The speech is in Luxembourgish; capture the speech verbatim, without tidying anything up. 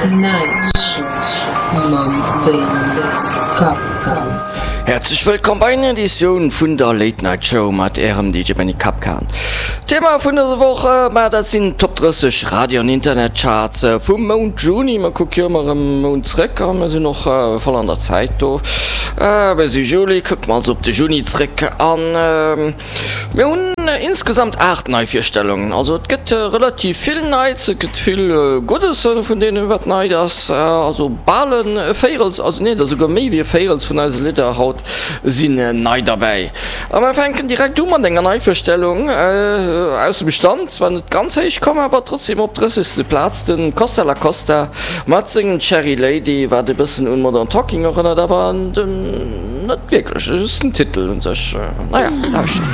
Night Show mam Benny Kapkan. Häerzlech wëllkomm bei enger Editioun vun der Late Night Show mat ärem D J Benny Kapkan. Thema vun dëser Woch, ma dat sinn d'Top drësseg Radio an Internetcharts vum Mount Juni. Mer kucke jo ëmmer e Mount zréck a mer sinn och voll an der Zäit do. Mir si Juli, kucke mer also op de Juni zréck an mir hunn insgesamt aacht Neivirstellungen. Also et gëtt relativ vill Neits, et gëtt vill Guddes vun deenen, wat nei ass. Also bal e Véirels, also nee, et ass esouguer méi wéi e Véirels vun eise Lidder haut sinn nei derbäi. A mer fänken direkt u mat enger Neivirstellung aus dem Stand, zwar net ganz héich komm, awer trotzdem op drëssegste Plaz, de Costa La Costa mat sengem Cherry Lady, wat e bëssen un Modern Talking erënnert, awer net wierklech, just den Titel un sech. Naja, lauschtert.